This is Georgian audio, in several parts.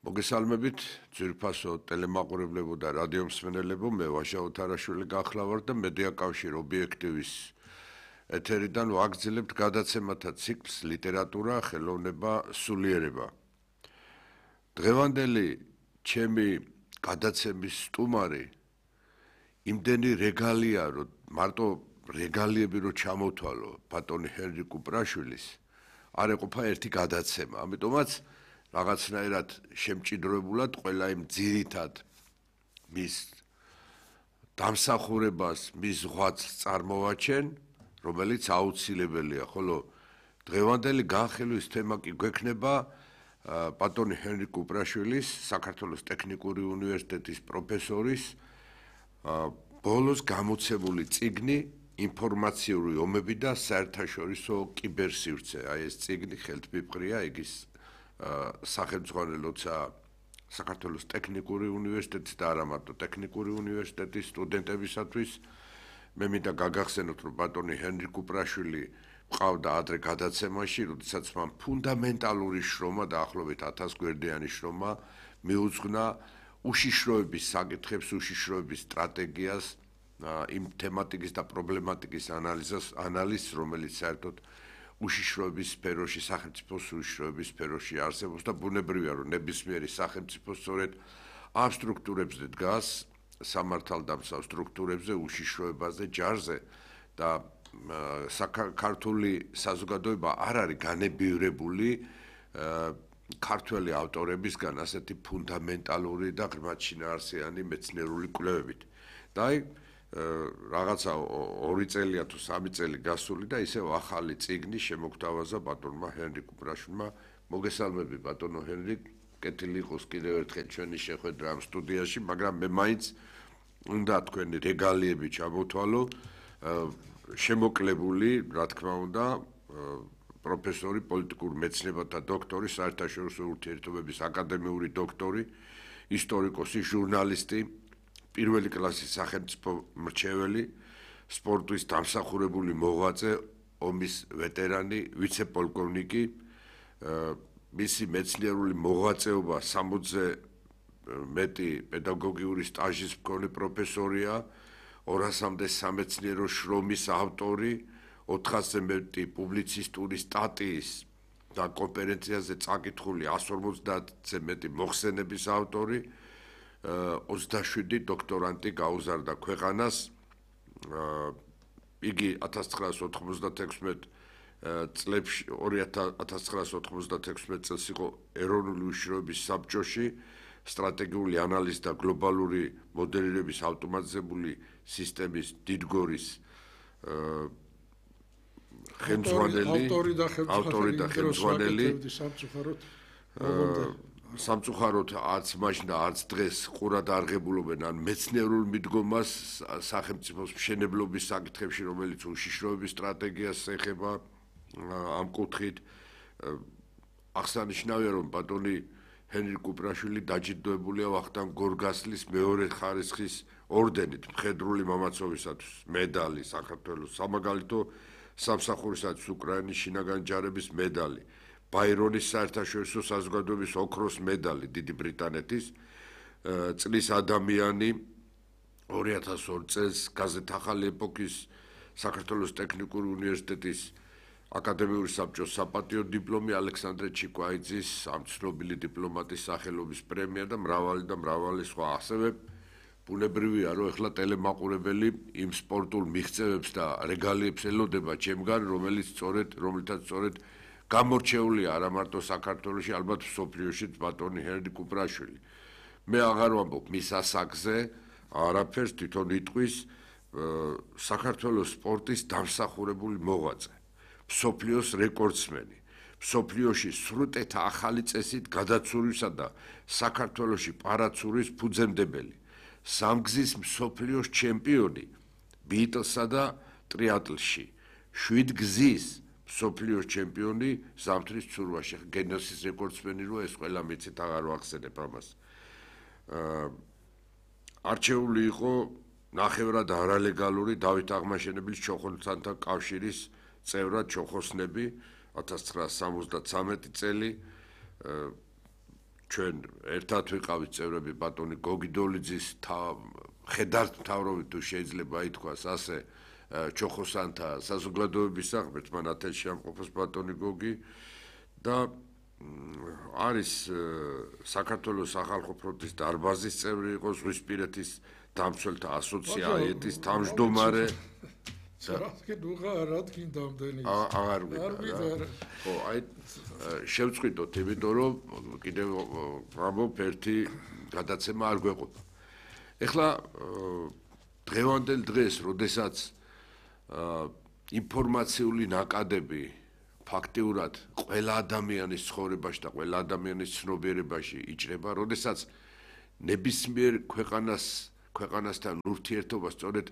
მოგესალმებით, ძვირფასო ტელემაყურებლებო და რადიომსმენელებო, მე ვაშა ოთარაშვილი გახლავართ და მედია კავშირ ობიექტივის ეთერიდან ვაგრძელებთ გადაცემათა ციკლს ლიტერატურა, ხელოვნება, სულიერება. დღევანდელი ჩემი გადაცემის სტუმარი იმდენი რეგალია, რომ მარტო რეგალიები რო ჩამოთვალო ბატონი ჰენრი კუპრაშვილის, არ ეყოფა ერთი გადაცემა. ამიტომაც რაღაცნაირად შემჭიდროებულად ყველა იმ ძირითად მის დამსახურებას, მის ზღვაწს წარმოვაჩენ, რომელიც აუცილებელია, ხოლო დღევანდელი განხილვის თემა კი გვექნება ბატონი ჰენრი კუპრაშვილის, საქართველოს ტექნიკური უნივერსიტეტის პროფესორის ბოლოს გამოცემული წიგნი ინფორმაციური ომები და საერთაშორისო კიბერსივრცე. აი ეს წიგნი ხელთმიფრია, იგის სახელმძღვანელოცა საქართველოს ტექნიკური უნივერსიტეტის და არა მარტო ტექნიკური უნივერსიტეტის სტუდენტებისათვის. მე მინდა გაგახსენოთ, რომ ბატონი ჰენრი კუპრაშვილი მყავდა ადრე გადაცემაში, როდესაც მან ფუნდამენტალური შრომა, დაახლოებით 1000 გვერდიანი შრომა მიუძღვნა უშიშროების საკითხებს, უშიშროების სტრატეგიას, იმ თემატიკის და პრობლემატიკის ანალიზს, რომელიც საერთოდ უშიშროების სფეროში, სახელმწიფოს უშიშროების სფეროში არსებობს და ბუნებრივია, რომ ნებისმიერი სახელმწიფო სწორედ ამ სტრუქტურებზე დგას, სამართალდამცავ სტრუქტურებზე, უშიშროებაზე, ჯარზე და ქართული საზოგადოება არ არის განებივრებული ქართველი ავტორებისგან ასეთი ფუნდამენტალური და ღრმად შინაარსიანი მეცნიერული კვლევებით. და აი რაღაცა 2 წელია თუ 3 წელი გასული და ისევ ახალი წიგნი შემოგთავაზა ბატონმა ჰენრი კუპრაშვილმა. მოგესალმები ბატონო ჰენრი, კეთილი იყოს კიდევ ერთხელ ჩვენი შეხვედრა ამ სტუდიაში, მაგრამ მე მაინც უნდა თქვენი რეგალიები ჩამოთვალო, შემოკლებული, რა თქმა უნდა, პროფესორი, პოლიტიკურ მეცნიერებათა დოქტორი, საერთაშორისო ურთიერთობების აკადემიური დოქტორი, ისტორიკოსი, ჟურნალისტი, პირველი კლასის სახელმწიფო მრჩეველი, სპორტის დამსახურებული მოღვაწე, ომის ვეტერანი, ვიცე-პოლკოვნიკი, მისი მეცნიერული მოღვაწეობა 60-ზე მეტი პედაგოგიური სტაჟის მქონე პროფესორია, 200-მდე სამეცნიერო შრომის ავტორი, 400-ზე მეტი პუბლიცისტური სტატიის და კონფერენციაზე წაკითხული 150-ზე მეტი მოხსენების ავტორი, 27 დოქტორანტი გაუზარდა ქვეყანას. იგი 1996 წლებში 1996 წელს იყო ეროვნული უშიშროების საბჭოში, სტრატეგიული ანალიზი და გლობალური მოდელირების ავტომატიზებული სისტემის დიდგორის ავტორი და ხელმძღვანელი. სამწუხაროდ არც მაშინ და არც დღეს ყურად არღებულობენ ან მეცნიერულ მიდგომას სახელმწიფოს მშენებლობის საკითხებში, რომელიც უშიშროების სტრატეგიას ეხება ამ კუთხით. აღსანიშნავია, რომ ბატონი ჰენრი კუპრაშვილი დაჯილდოებულია ვახტანგ გორგასლის მეორე ხარისხის ორდენით, მხედრული მამაცობისათვის მედალი საქართველოს, სამაგალითო სამსახურისათვის უკრაინის შინაგანი ჯარების მედალი, ბაირონის საერთაშორისო საზოგადოების ოქროს მედალი დიდი ბრიტანეთის, წლის ადამიანი 2002 წელს გაზეთ ახალი ეპოქის საქართველოს ტექნიკური უნივერსიტეტის აკადემიური საბჭოს საპატიო დიპლომი, ალექსანდრე ჩიკვაიძის ამ ცნობილი დიპლომატის სახელობის პრემია და მრავალი სხვა. ასევე ბუნებრივია, რომ ეხლა ტელემაყურებელი იმ სპორტულ მიღწევებს და რეგალიებს ელოდება ჩემგან, რომლითაც სწორედ გამორჩეულია არა მარტო საქართველოში, ალბათ მსოფლიოშიც ბატონი ჰენრი კუპრაშვილი. მე აღარ ვამბობ მის ასაკზე არაფერს, თვითონ იტყვის საქართველოს სპორტის დამსახურებული მოღვაწე, მსოფლიოს რეკორდსმენი, მსოფლიოში სრუტეთა ახალი წესით გადაცურვისა და საქართველოში პარაცურის ფუძემდებელი, სამგზის მსოფლიოს ჩემპიონი ბიტლსა და ტრიატლში, 7 გზის მსოფლიოს ჩემპიონი ზამთრის ცურვაში. გენესის რეკორდსმენი რო ეს ყველა მიცით, აღარ ვახსენებ ამას. არჩეული იყო ნახევრად არალეგალური დავით აღმაშენებლის ჩოხოსანთა კავშირის წევრად ჩოხოსნები 1973 წელი ჩვენ ერთად ვიყავით წევრები ბატონი გოგი დოლიძის ხედართმთავრობით თუ შეიძლება ითქვას ასე ჩოხოსანთა საზოგადოების საქმეც მან ათენში ამყოფოს ბატონი გოგი და არის საქართველოს სახალხო ფრონტის დარბაზის წევრი იყო ზღვისპირეთის დამცველთა ასოციაციის თავმჯდომარე აღარ ვიყავ. ხო, აი შევწყვიტოთ, იმიტომ რომ კიდევ ამბობ ერთი გადაცემა არ გვეყოფა. ეხლა დღევანდელ დღეს, როდესაც ინფორმაციული ნაკადები ფაქტიურად ყველა ადამიანის ცხოვრებაში და ყველა ადამიანის ცნობიერებაში იჭრება, როდესაც ნებისმიერ ქვეყანასთან ურთიერთობა სწორედ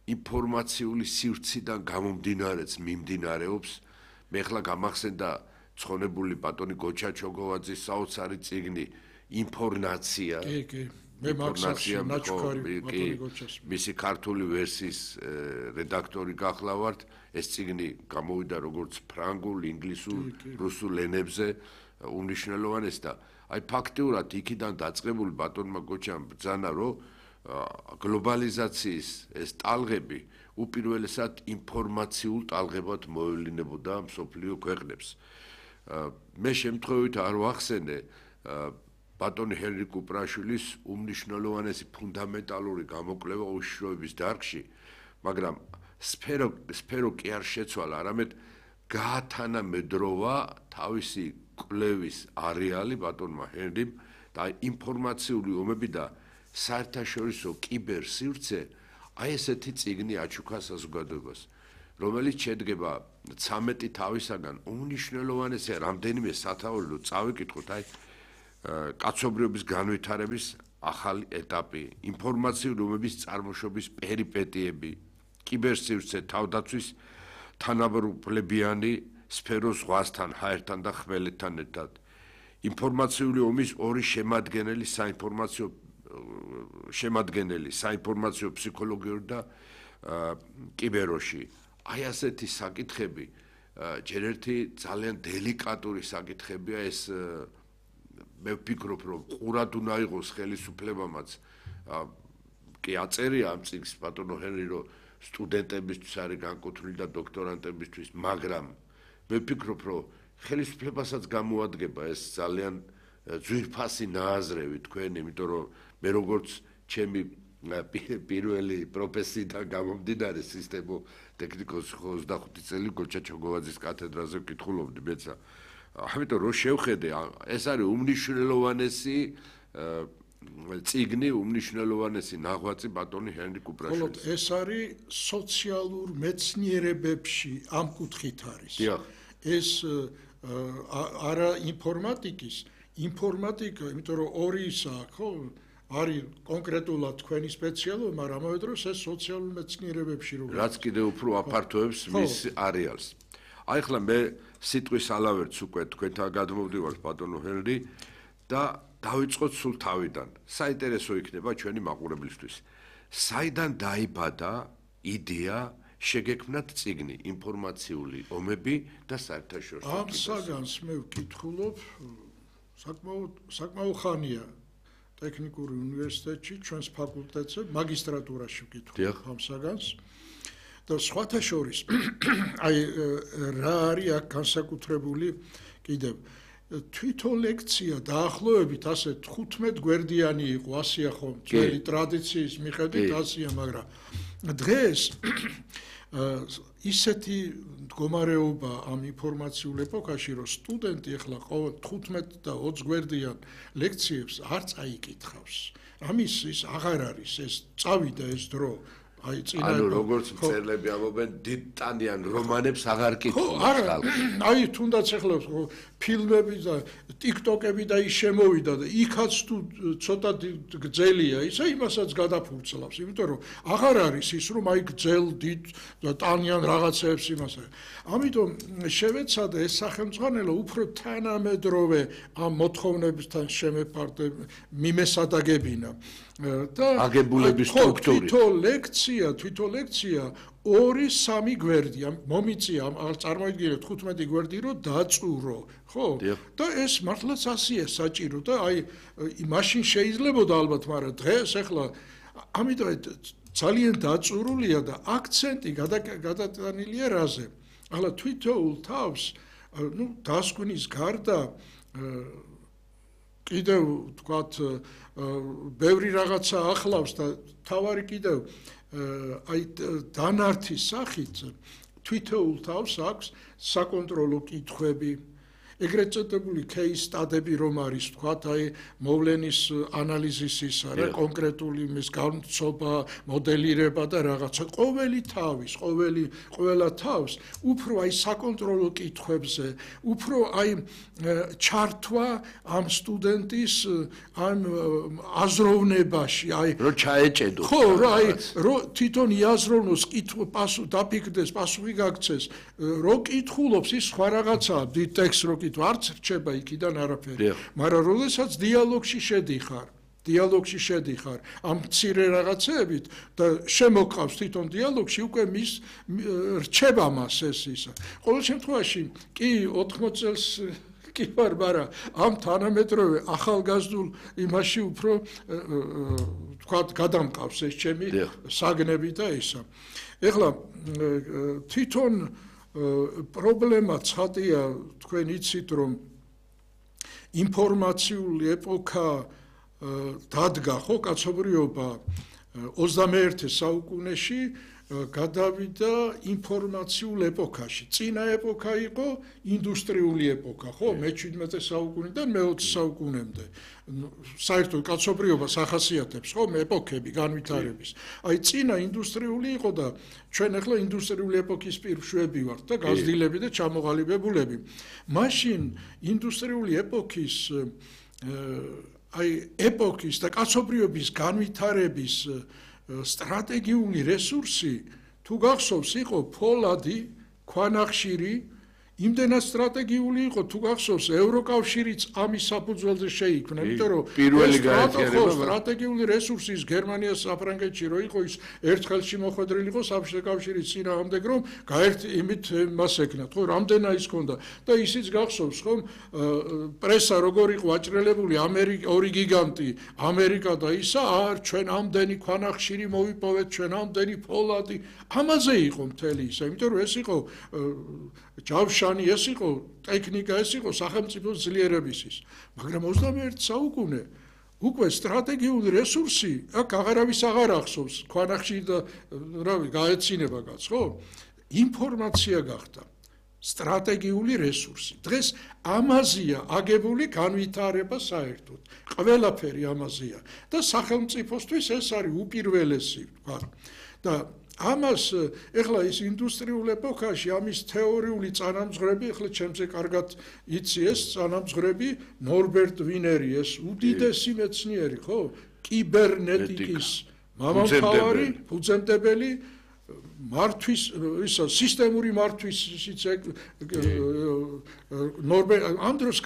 ინფორმაციული სივრციდან გამომდინარეც მიმდინარეობს. მე ახლა გამახსენდა ცხონებული ბატონი გოჩა ჩოგოვაძის საოცარი წიგნი ინფორმაცია. კი. მე მაქსახში ნაჩქარი ბატონი გოჩას. მისი ქართული ვერსიის რედაქტორი გახლავართ. ეს წიგნი გამოვიდა როგორც ფრანგულ, ინგლისურ, რუსულ ენებზე უმნიშვნელოვანეს და აი ფაქტიურად იქიდან დაწყებული ბატონმა გოჩამ ბრძანა რომ გლობალიზაციის ეს ტალღები უპირველესად ინფორმაციულ ტალღებად მოევლინებოდა მსოფლიო ქვეყნებს. მე შემთხვევით არ ვახსენე ბატონი ჰენრი კუპრაშვილის უმნიშვნელოვანესი ფუნდამენტალური გამოკვლევა უშიშროების დარგში, მაგრამ სფერო კი არ შეცვალა, არამედ გაათანამედროვა თავისი კვლევის არეალი ბატონმა ჰენრიმ და ინფორმაციული ომები და საერთაშორისო კიბერსივრცე აი ესეთი წიგნი აჩუქა საზოგადოებას, რომელიც შედგება 13 თავისაგან უმნიშვნელოვანესი რამდენიმე სათაური რომ წავიკითხოთ აი კაცობრიობის განვითარების ახალი ეტაპი, ინფორმაციული ომების წარმოშობის პერიპეტიები, კიბერსივრცე თავდაცვის თანაბრუნებიანი სფეროს ზღვასთან, ჰაერთან და ხმელეთთან ერთად, ინფორმაციული ომის ორი შემადგენელი საინფორმაციო ფსიქოლოგიური და კიბეროში. აი ასეთი საკითხები ჯერ ერთი ძალიან დელიკატური საკითხებია ეს მე ვფიქრობ რომ ყურად უნდა იყოს ხელისუფლებამაც კი აწერია ამ წიგნს ბატონო ჰენრი რომ სტუდენტებისთვის არის განკუთვნილი და დოქტორანტებისთვის, მაგრამ მე ვფიქრობ რომ ხელისუფლებასაც გამოადგება ეს ძალიან ძვირფასი ნააზრევი თქვენ, იმიტომ რომ მე როგორც ჩემი პირველი პროფესიიდან გამომდინარე სისტემო ტექნიკოსი 25 წელი გოჩა ჩოგოვაძის კათედრაზე ვკითხულობდი მეცა. ამიტომ რომ შევხედე, ეს არის უმნიშვნელოვანესი წიგნი, უმნიშვნელოვანესი ნაღვაწი ბატონი ჰენრი კუპრაშვილის. ხოლო ეს არის სოციალურ მეცნიერებებში ამ კუთხით არის. ეს არა ინფორმატიკის, ინფორმატიკა, იმიტომ რომ ორი ისაა, ხო? არის კონკრეტულად თქვენი სპეციალობა, მაგრამ ამავე დროს ეს სოციალურ მეცნიერებებში რო რაც კიდევ უფრო აფართოებს მის არეალს. აი ახლა მე სიტყვის ალავერts უკვე თქვენთან გადმოვდივართ ბატონო ჰენრი და დავიწყოთ სულ თავიდან. საინტერესო იქნება ჩვენი მაყურებლისთვის. საიდან დაიბადა იდეა შეგექმნათ წიგნი ინფორმაციული ომები და საერთაშორისო ამ საგანს მე ვკითხულობ საკმაოდ ხანია ტექნიკური უნივერსიტეტში, ჩვენს ფაკულტეტზე, მაგისტრატურაში ვკითხულობ ამ საგანს. და სხვათა შორის აი რა არის აქ განსაკუთრებული კიდევ თვითონ ლექცია დაახლოებით ასე 15 გვერდიანი იყო, ასია ხომ ძველი ტრადიციის მიხედვით ასია, მაგრამ დღეს ისეთი მდგომარეობა ამ ინფორმაციულ ეპოქაში, რომ სტუდენტი ახლა 15 და 20 გვერდიან ლექციებს არ წაიკითხავს. ამის ის აღარ არის, ეს წავიდა ეს დრო. ანუ როგორც მწერლები ამობენ დიდტანიან რომანებს აღარ კითხულობს ხალხი. აი თუნდაც ახლა ფილმები და ტიკტოკები და ის შემოვიდა და იქაც თუ ცოტა გძელია ისა იმასაც გადაფურცლავს, იმიტომ რომ აღარ არის ის რომ აი გძელ დიდ და ტანიან რაღაცებს იმასა. ამიტომ შევეცადა ეს სახელმძღვანელო უფრო თანამედროვე ამ მოთხოვნებისთან მიმესადაგებინა და აგებულების სტრუქტურით. თვითონ ლექცია 2-3 გვერდი მომიწია წარმოიდგინეთ 15 გვერდი რომ დაწურო ხო და ეს მართლაც ასია საჭირო და აი მაშინ შეიძლებოდა ალბათ მაგრამ დღეს ახლა ამიტომ ძალიან დაწურულია და აქცენტი გადატანილია რაზე ახლა თვითოულ თავს დასკვნის გარდა კიდევ თქვათ ბევრი რაღაცა ახლავს და თავარი კიდევ აი დანართის სახით თვითოულ თავს აქვს საკონტროლო კითხვები ეგრეთ წოდებული case study-ები რომ არის თქვათ აი მოვლენის ანალიზის არა კონკრეტული მის განცობა მოდელირება და რაღაცა ყველა თავს უფრო აი საკონტროლო კითხვებზე უფრო აი ჩართვა ამ სტუდენტის ამ აზროვნებაში აი რო ჩაეჭედო ხო რა აი რო თვითონ იაზროვნოს დაფიქრდეს პასუხი გაქცეს რო კითხულობს ის სხვა რაღაცაა დიდ ტექსტს რო არც რჩება იქიდან არაფერი მაგრამ როდესაც დიალოგში შედიხარ ამ მცირე რაღაცეებით და შემოყავს თვითონ დიალოგში უკვე მის რჩება მას ეს ისა ყოველ შემთხვევაში კი 80 წელს კი ვარ მაგრამ ამ თანამედროვე ახალგაზრდულ იმაში უფრო თქვათ გადამყავს ეს ჩემი საგნები და ისა ეხლა თვითონ პრობლემა ცხადია თქვენ იცით რომ ინფორმაციული ეპოქა დადგა ხო კაცობრიობა 21 საუკუნეში გადავიდა ინფორმაციულ ეპოქაში. წინა ეპოქა იყო ინდუსტრიული ეპოქა, ხო? მე-17 საუკუნიდან მე-20 საუკუნემდე. საერთოდ კაცობრიობას ახასიათებს, ხო, ეპოქები განვითარების. აი წინა ინდუსტრიული იყო და ჩვენ ახლა ინდუსტრიული ეპოქის პირშვები ვართ და გაზრდილები და ჩამოყალიბებულები. მაშინ ინდუსტრიული ეპოქის აი ეპოქის და კაცობრიობის განვითარების სტრატეგიული რესურსი თუ გახსოვს იყო ფოლადი, ქვანახშირი, იმდენად სტრატეგიული იყო თუ გახსოვს ევროკავშირიც ამის საფუძველზე შეიქმნა, იმიტომ რომ პირველი გაერთიანება სტრატეგიული რესურსის გერმანიას საფრანგეთში რო იყო ის ერთხელში მოხვედრილი იყო საბჭოთა კავშირის წინააღმდეგ რომ იმით მას ეკნათ, ხო, რამდენა ის ქონდა და ისიც გახსოვს ხომ პრესა როგორ იყო აჭრელებული ორი გიგანტი ამერიკა და ისა ჩვენ ამდენი ქვანახშირი მოვიპოვეთ ჩვენ ამდენი ფოლადი ამაზე იყო მთელი ისა, იმიტომ რომ ეს იყო ჯავშანი ეს იყო ტექნიკა ეს იყო სახელმწიფოს ძლიერებისის მაგრამ 21 საუკუნე უკვე სტრატეგიული რესურსი აქ აღარავის აღარ ახსოვს ქვანახშირი და რავი გაეცინება კაც ხო ინფორმაცია გახდა სტრატეგიული რესურსი დღეს ამაზეა აგებული განვითარება საერთოდ ყველაფერი ამაზეა და სახელმწიფოსთვის ეს არის უპირველესი ვთქვა და ამას ეხლა ის ინდუსტრიულ ეპოქაში ამის თეორიული წანამძღვრები ეხლა ჩემზე კარგად იცი ეს წანამძღვრები ნორბერტ ვინერი ეს უდიდესი მეცნიერი ხო კიბერნეტიკის მამამთავარი ფუძემდებელი მართვის ისა სისტემური მართვის ნორბერტ ამ დროს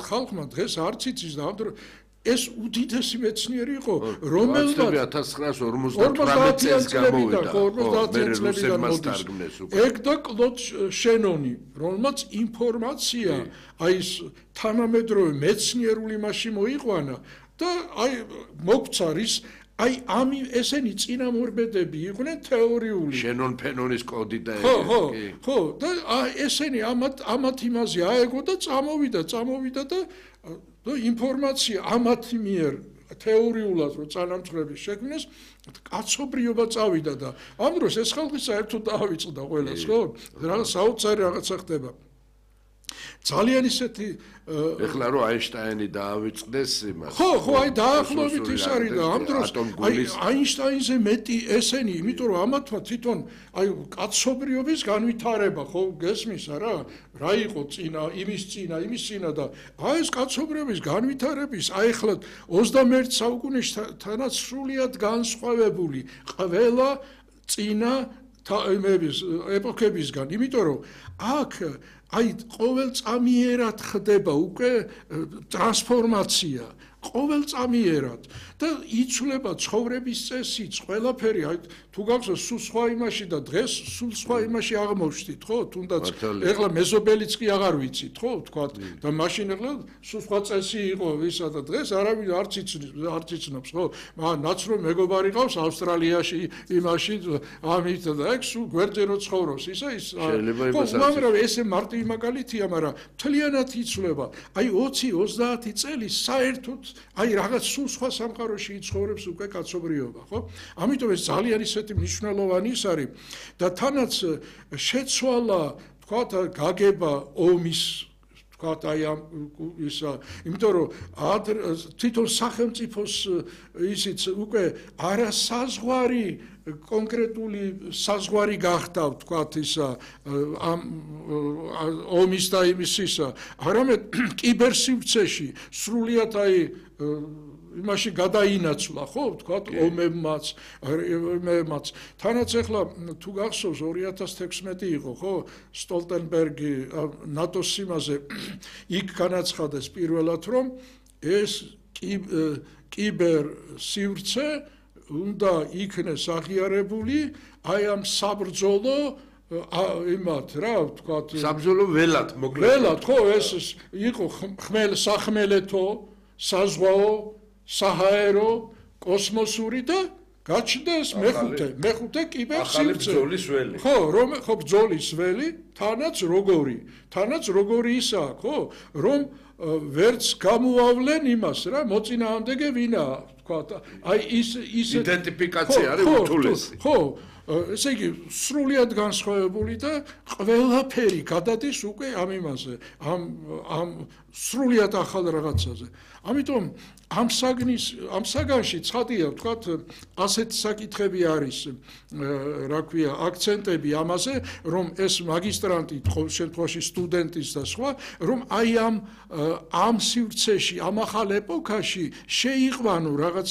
ხალხმა დღეს არც იცის და ამ დროს ეს უდიდესი მეცნიერი იყო, რომელმაც 1958 წელს გამოვიდა. 50 წლებიდან მოდის. ეგ და კლოდ შენონი, რომელმაც ინფორმაცია აი ეს თანამედროვე მეცნიერული მასში მოიყვანა და აი მოგვცა რის აი ამი ესენი წინამორბედები იყვნენ თეორიული. შენონ ფენონის კოდი და ხო, და ესენი ამათ იმაზე აეგო და წამოვიდა და ინფორმაცია ამათი მიერ თეორიულად რო წანამძღვრები შექმნეს კაცობრიობა წავიდა და ამ დროს ეს ხალხი საერთოდ დაავიწყდა ყველას ხო რაღაც საოცარი რაღაცა ხდება ძალიან ისეთი ეხლა რო აინშტაინი დაავიწყდეს იმას ხო აი დაახლოებით ის არის და ამ დროს აი აინშტაინზე მეტი ესენი იმიტომ რომ ამათმა თვითონ აი კაცობრიობის განვითარება ხო გესმის რა იყო იმის წინა და აი ეს კაცობრიობის განვითარების აი ეხლა 21 საუკუნეში თანაც სრულიად განსხვავებული ყველა წინა ეპოქებისგან იმიტომ რომ აქ აი ყოველწამიერად ხდება უკვე ტრანსფორმაცია ყოველწამიერად და იცვლება ცხოვრების წესიც, ყველაფერი, აი თუ გახსოვს სულ სხვა იმაში და დღეს სულ სხვა იმაში აღმოჩნდით, ხო? თუნდაც ეხლა მეზობელიც კი აღარ ვიცით, ხო? თქვათ და მაშინ ეხლა სულ სხვა წესი იყო ვისა და დღეს არავინ არც იცნობს, ხო? მაგრამ ნაცრო მეგობარი ყავს ავსტრალიაში, იმაში, ამით და ეგ სულ გვერდზე რო ცხოვრობს, ისა ის მაგრამ ესე მარტივი მაგალითია, მაგრამ მთლიანად იცვლება. აი 20-30 წელი საერთოდ აი რაღაც სულ სხვა სამყაროში იცხოვრებს უკვე კაცობრიობა, ხო? ამიტომ ეს ძალიან ისეთი მნიშვნელოვანი ის არის და თანაც შეცვალა, თქვათ, გაგება ომის, თქვათ, აი ამ ისა, იმიტომ რომ თვითონ სახელმწიფოს ისიც უკვე არასაზღვარი კონკრეტული საზღვარი გახდა, თქვათ, ისა ამ ომის და იმის ისა, არამედ კიბერსივრცეში სრულიად აი იმაში გადაინაცვლა, ხო, თქვათ, ომებმაც, თანაც ახლა თუ გახსოვს 2016 იყო, ხო, სტოლტენბერგი ნატოს სიმაზე იქ განაცხადეს პირველად, რომ ეს კიბერ სივრცე უნდა იქნეს აღიარებული აი ამ საბრძოლო იმათ რა ვთქვათ საბრძოლო ველად მოკლედ ველად ხო ეს იყო სახმელეთო საზღვაო საჰაერო კოსმოსური და გაჩნდეს მეხუთე კიბერსივრცე ხო რომ ხო ბრძოლის ველი თანაც როგორი ისაა ხო რომ ვერც გამოავლენ იმას რა მოწინააღმდეგე ვინაა ვთქვათ აი ის იდენტიფიკაცია არის უთულესი ხო ესე იგი სრულიად განსხვავებული და ყველაფერი გადადის უკვე ამ იმაზე ამ სრულიად ახალ რაღაცაზე ამიტომ ამ საგანში ცხადია ვთქვათ ასეთი საკითხები არის რა ქვია აქცენტები ამაზე რომ ეს მაგისტრანტი ყოველ შემთხვევაში სტუდენტის და სხვა რომ აი ამ სივრცეში ამ ახალ ეპოქაში შეიყვანო რაღაც